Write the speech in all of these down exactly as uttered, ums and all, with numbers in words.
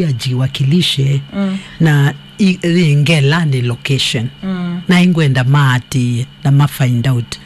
ya Jiwakilishe, mm, na i-, i Ngelani location. Mm. Na ingwenda maatĩĩe na ma find out.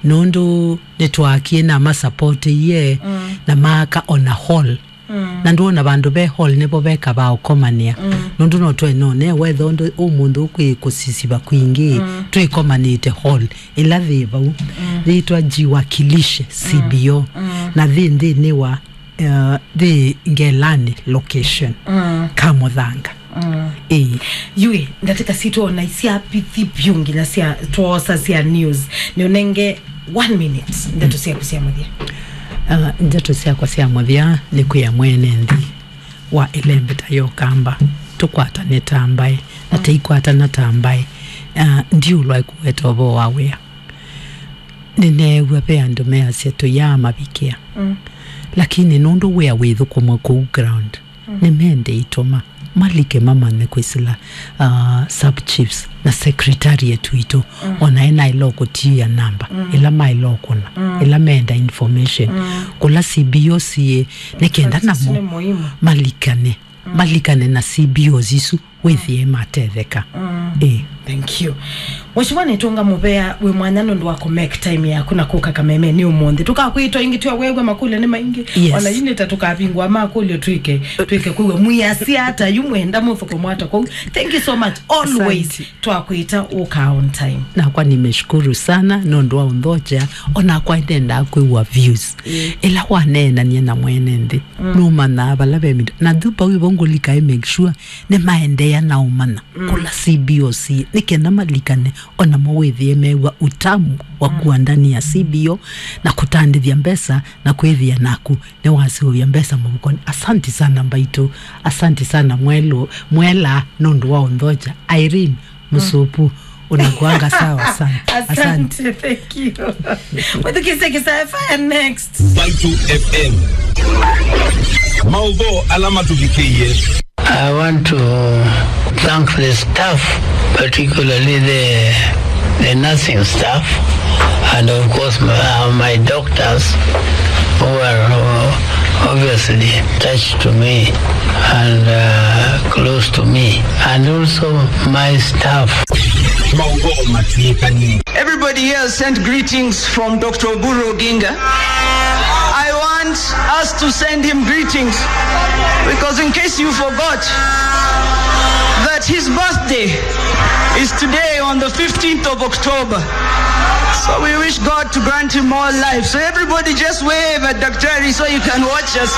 Nũndũ nĩtwaakie na masapotĩie, mm, na maaka ona hall. Mm. Na ndwona vandũ ve hall nĩvo veka va ũkomanĩa. Mm. Nũndũ no twenone wetha ũndũ ũmũnthĩ ũkwĩ kũsisiva kwingĩ, mm, twĩkomanĩte hall ĩla yĩ vau. Mm. Yĩtwa Jiwakilishe C B O. Mm. Na yĩ nthĩnĩ wa, uh, yĩ Ngelani location. Mm. Kamũthanga. Mm. Ĩĩ. Yu ĩ, ndatĩka sitũ ona syavithi vyũ nginya sya twosa sya news. Nĩũnenge one minute, ndeto syaku sya mũthya. Ah, ndeto syakwa sya mũthya nĩ kwĩa mwene nthĩ wa ĩlembeta ya Ũkamba, tũkwatane ta mbaĩ, na, mm, tũikwatana ta mbaĩ, ah, ndiũlwa kũweta ũvoo wa wĩa. Nĩneew'a ve andũ measya tũyaa mavikĩa. Mm. Lakini nũndũ wĩa wĩthũkũmwa kũu ground, mm, nĩmende itũma malike mamanye kwĩsĩla, uh, sub chiefs na secretariat witũ, mm, ona enaĩla ũkũtia namba, mm, ĩla maĩla ũkũna, mm, ĩla meenda information, mm, kũla C B O siĩ, nĩ kenda namo malikane, mm, malikane na C B Os isu wĩthĩe matetheka. Mm. Ĩĩ. Thank you. Mheshimiwa, nĩtũnga mũvea wĩ mwanya nũndũ wa kũ make time yaku na kũka Kameme nĩ ũmũnthĩ. Tũkakwĩtwa ĩngĩ, twawew'a makũlyo nĩ maingĩ. Yes. Ona yu nĩ ta tũkavingũa makũlyo twĩke, twĩke kwĩw'a mwĩasya ata yu mwenda mũthũkũmo ata kũu. Thank you so much. Always. Asante. Twakwĩta ũka on time. Nakwa nimeshukuru sana nũndũ wa ũnthokya. Onakwa ndendaa kwĩw'a views. Ĩĩ. Ĩla waneenanie na mwene nthĩ, mm, nũmanyaa vala ve mito. Na thupa wĩvo ngũlika, I make sure nĩmaendeea na ũmanya, mm, kũla C B O siĩ, nĩ kenda malikane, onamo wĩthĩe mew'a utamu wa, mm, kũandania C B O na kũtandĩthya mbesa na kwĩthĩa naku nĩwaseũvya mbesa mũvukonĩ. Asanti sana mbaitũ, asanti sana mwelũ, mwela nũndũ wa ũnthokya. Irene, mm, Mũsupu, unakuanga sawa sana. Asante. Asante, thank you. Wĩthukĩĩsye Kisaya Fire next. Mbaitũ F M. Maũvoo ala matũvikĩie. I want to thank the staff, particularly the, the nursing staff, and of course my, uh, my doctors who are, uh, obviously attached to me and, uh, close to me, and also my staff. Maũvoo matw'ĩkanie. Everybody here sent greetings from Doctor Oburu Oginga. I want us to send him greetings because, in case you forgot, that his birthday is today on the fifteenth of October. So we wish God to grant him more life. So everybody just wave at Daktari so you can watch us.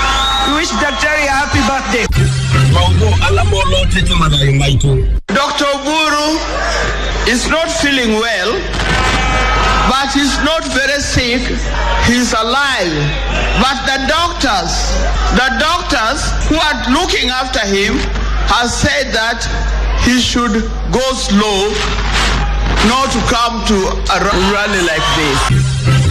We wish Daktari a happy birthday. Maũvoo ala molotete mathayũ maitũ. Doctor Oburu is not feeling well, but he's not very sick. He's alive. But the doctors, the doctors who are looking after him have said that he should go slow, not to come to a ra-, rally like this.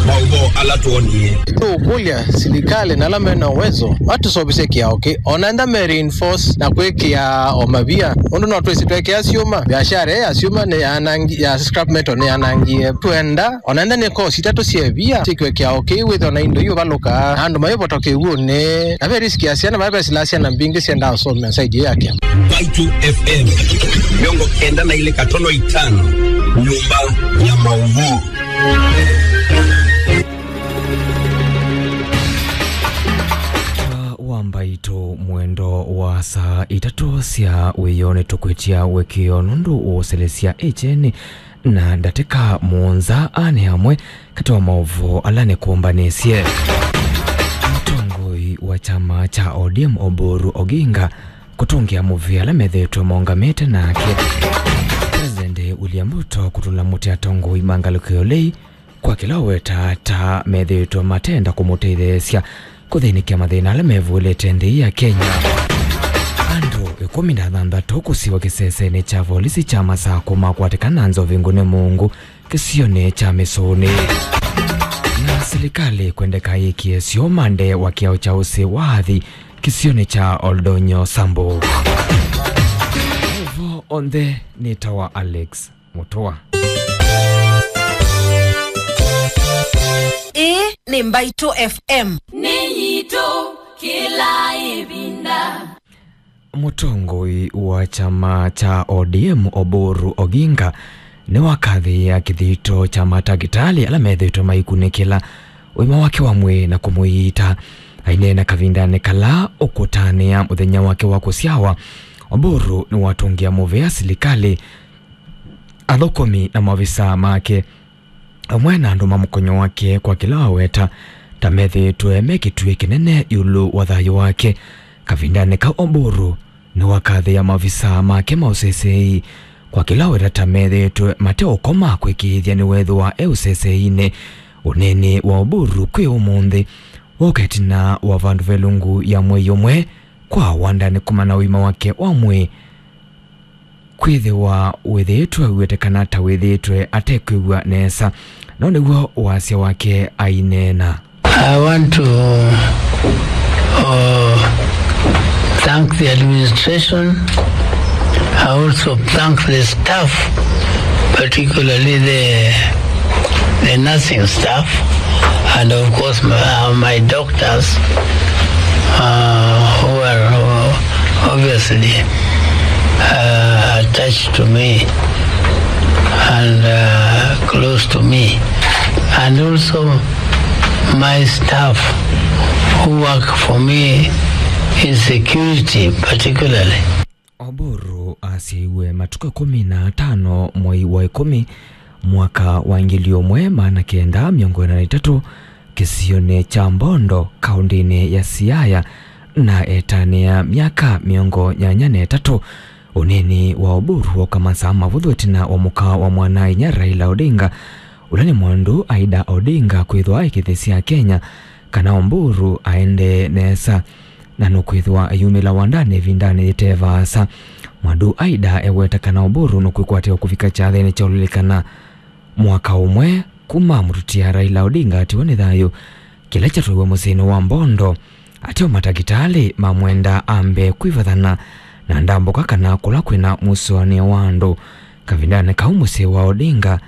Maũvoo ala twonie. Tũũkũlya silikalĩ na ala mena ũwezo matũseũvĩsye kĩao kĩĩ, ona enda me reinforce na kwĩkĩa o mavia, ũndũ no twĩsĩ twekĩa syũma, biashara ĩĩ ya syũma nĩ yanangi-, ya scrap metal nĩ yanangie. Twenda ona enda nĩ kosi itatũ sya ĩvia syĩkĩwe kĩao kĩĩ, wĩthĩwa na indo iũvalũka, andũ maivota kĩw'ũnĩ, na ve risk ya syana, vaa vesilaa syana mbingĩ syendaa ũsomea side ĩyo ya kĩama. Mbaitũ F M, mĩongo kenda na ilĩ katono itano, nyũmba ya maũvoo. Wa Mbaitũ, mwendo wa saa itatũ sya wĩoo nĩtũkwĩtya wĩkĩo nũndũ ũũsĩlĩsya ĩkyeni na ndatĩka mũonza. Aa nĩ amwe katĩ wa maũvoo ala nĩkũmbanĩsye. Mũtongoi wa kyama kya O D M Oburu Oginga kũtũngĩa mũvea ala methĩĩtwe maũngamĩte nake. President William Ruto kũtũla mũtĩ atongoi ma ngalĩko ya ũlei kwa kĩla ũwetaa ta methĩĩtwe matenda kũmũtetheesya kũthĩnĩkĩa mathĩna ala mevũlĩte nthĩ ya Kenya. Andũ ĩkũmi na athanthatũ kũsiwa kĩsesenĩ kya volisi kya Masakũ makwatĩkana na nzovi ngũne mũungu kĩsionĩ kya Mĩsũnĩ. Na silikalĩ kwendeka yĩkĩe syũma nde wa kĩao kya ũsĩ wa athi kĩsionĩ kya Oldonyo Samburu. Ũvoo onthe nĩ ta wa Alex Mũtũa. Ĩĩ nĩ Mbaitũ F M. Nĩ yitũ kĩla ĩvinda. Mũtongoi wa kyama kya O D M Oburu Oginga nĩwakathĩĩa kĩthito kya matakĩtalĩ ala methĩĩtwe maikunĩkĩla ũima wake wa mwĩĩ na kũmũiita. Aineena kavindanĩ kala ũkũtanĩa mũthenya wake wa kũsyawa, Oburu nĩwatũngĩa mũvea silikalĩ, athũkũmi na maovisaa make, amwe na andũ ma mũkonyo wake kwa kĩla waweta ta methĩĩtwe me kĩtuĩ kĩnene ĩũlũ wa thayũ wake. Kavindanĩ kau Oburu nĩwakathĩĩa maovisaa make ma ũseseei kwa kĩla waweta ta methĩĩtwe mate ũkoma kwĩkĩĩthya nĩwethĩwa e ũseseeinĩ. Ũneeni wa Oburu kwĩ ũmũnthĩ woka ĩtina wa vandũ ve lungu ya mwei ũmwe kwa wandanĩ kumana ũima wake wa mwĩĩ kwĩthĩwa wĩthĩĩtwe ũweteka kana ta wĩthĩĩtwe atekwĩw'a nesa, no nĩw'o wasya wake aineena. I want to uh, thank the administration. I also thank the staff, particularly the the nursing staff, and of course my, uh, my doctors uh, who are uh, obviously uh, attached to me and uh, close to me, and also my staff who work for me in security particularly. Oburu asyaiwe matukũ ĩkũmi na atano mwei wa ĩkũmi mwaka wa ngili ũmwe maana kenda mĩongo ĩna na itatũ kĩsionĩ kya Mbondo, kaũndĩnĩ ya Siaya, na etanĩa myaka mĩongo nyanya na ĩtatũ. Ũneeni wa Oburu woka masaa mavũthũ ĩtina wa mũka wa mwana-a-inyia Raila Odinga, ũla nĩ mwandu Aida Odinga, kwĩthwa aikĩthĩsya Kenya kana Oburu aendee nesa na nũkwĩthĩwa ayumĩla wandanĩ ĩvindanĩ yĩte vaasa. Mwandu Aida eweta kana Oburu nũkwĩkwatĩwa kũvika kyathenĩ kya ũlilikana mwaka ũmwe kuma mũtutia Raila Odinga atiwa nĩ thayũ, kĩla kyatwaiwe mũsyĩnĩ wa Mbondo. Ateo matakĩtalĩ mamwenda ambe kwĩvathana na ndambũka kana kũla kwĩna mũsũanĩo wa andũ. Kavindanĩ kau mũsyĩ wa Odinga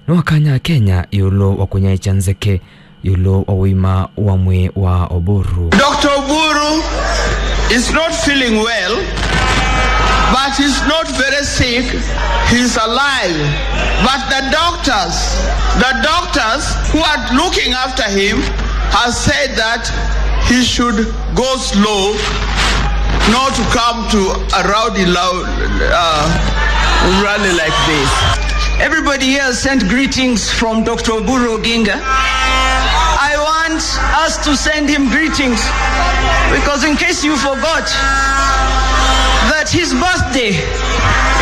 nĩwakanya Kenya ĩũlũ wa kũnyaĩĩkya nzeke ĩũlũ wa ũima wa mwĩĩ wa Oburu. Doctor Oburu is not feeling well, but he's not very sick. He's alive. But the doctors, the doctors who are looking after him have said that he should go slow, not to come to a rowdy loud, uh, rally like this. Everybody here sent greetings from Doctor Oburu Oginga. I want us to send him greetings because, in case you forgot, that his birthday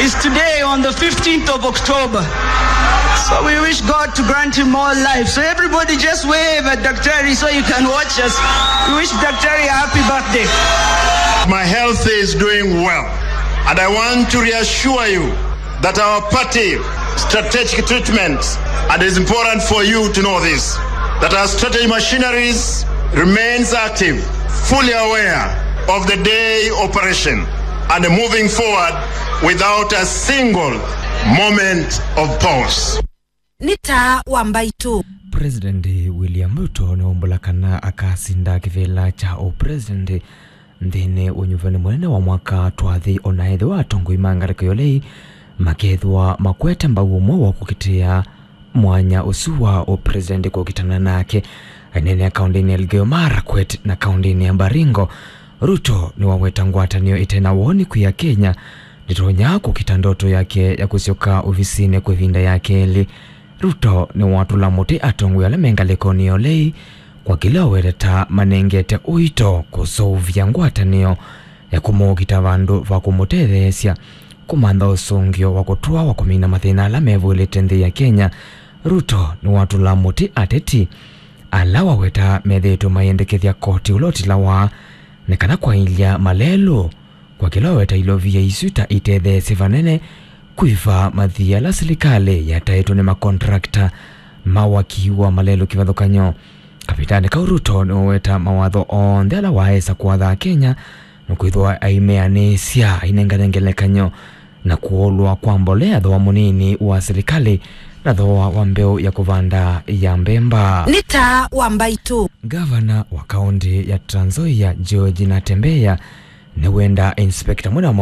is today on the fifteenth of October. So we wish God to grant him more life. So everybody just wave at Daktari so you can watch us. We wish Daktari a happy birthday. My health is doing well, and I want to reassure you that our party strategic treatment, and it is important for you to know this, that our strategy machineries remains active, fully aware of the day operation, and moving forward without a single moment of pause. Nĩ taa wa mbaitũ. President William Ruto nĩwaumbũla kana akasinda kĩvĩla kya ũpresident nthĩnĩ wa ũnyuvani mũnene wa mwaka twathi, ona ethĩwa atongoi ma ngalĩko ya ũlei makethĩwa makwete mbau ũmwe wa kũkitĩa mwanya ũsu wa ũpresident kũkitana nake. Aineenea kaũndĩnĩ ya Elgeyo Marakwet na kaũndĩnĩ ya Baringo, Ruto nĩwaweta ngwatanĩo ĩte na woni kwĩ Akenya ndĩtonya kũkita ndoto yake ya kũsyoka ovisinĩ kwa ĩvinda ya kelĩ. Ruto nĩwatũla mũtĩ atongoi ala me ngalĩkonĩ ya ũlei kwa kĩla waweta ta manengete ũito kũseũvya ngwatanĩo ya kũmũkita vandũ va kũmũtetheesya kũmantha ũsũngĩo wa kũtũa wa kũmina mathĩna ala mevũĩlĩte nthĩ ya Kenya. Ruto nĩwatũla mũtĩ ateti ala waweta methĩĩtwe mayendekethya koti ũla ũtilawa nĩ kana kwaĩlya malelũ kwa kĩla waweta ilovia isu ta itetheesye vanene kũiva mathii ala silikalĩ yataĩtwe nĩ makontrakta ma waki wa malelũ kĩvathũkany'o. Kavindanĩ kau Ruto nĩwaweta mawatho onthe ala waesa kũatha Akenya nĩkwĩthĩwa aimeanĩsya, ainengane ngelekany'o na kũolwa kwa mbolea thooa mũnini wa silikalĩ na thooa wa mbeũ ya kũvanda ya mbemba. Nĩ taa wa mbaitũ. Ngavana wa kaũntĩ ya Trans Nzoia George Natembeya Nĩwenda inspector mũna